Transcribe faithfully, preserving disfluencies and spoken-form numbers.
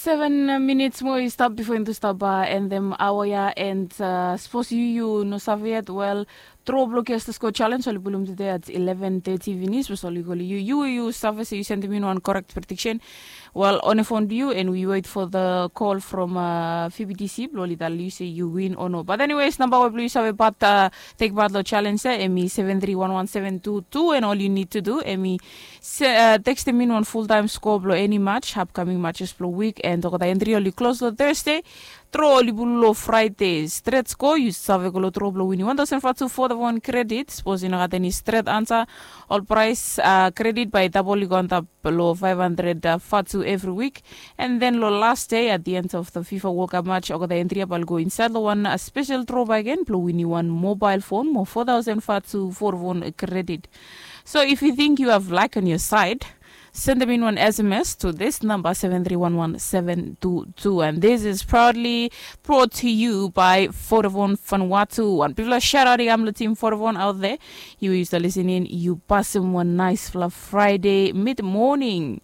Seven minits moa i stap bifo into stap endem aoa ya, and sapos yu yu no save yet, wel, tro blong Guess the Score Challenge oli pulum tude at eleven thirty finis. Sapos oli koli yu, yu yu save se yu sendem in wan correct prediction, wel, on a phone blong yu, and we wait for the call from uh, P B T C blong oli talem yu se yu win or no. But anyways, namba we blong yu save pat uh, take part long challenge ya, em i seven three one one seven two two, and all you need to do, em i Se, uh, tekstem in wan full time score blong any match, upcoming matches blong week, and olgeta entry oli klos long Thursday. Tro oli pulum long Friday. Stret score, yu save go long tro blong winim one thousand fatu Vodafone credit. Sapos yu no gat eni stret ansa, ol price uh, credit bae i dabol i go antap long five hundred uh, fatu evri wik. And then long last day at the end of the FIFA World Cup match, olgeta entry ya bae oli go insaed long wan uh, special tro bae agen blong winim wan mobile phone mo four thousand fatu Vodafone credit. So if you think you have luck on your side, send them in one S M S to this number seven three one one seven two two. And this is proudly brought to you by Vodafone Vanuatu. One people shout out to Team Vodafone out there. You used to listen in, you pass them one nice fluff Friday mid morning.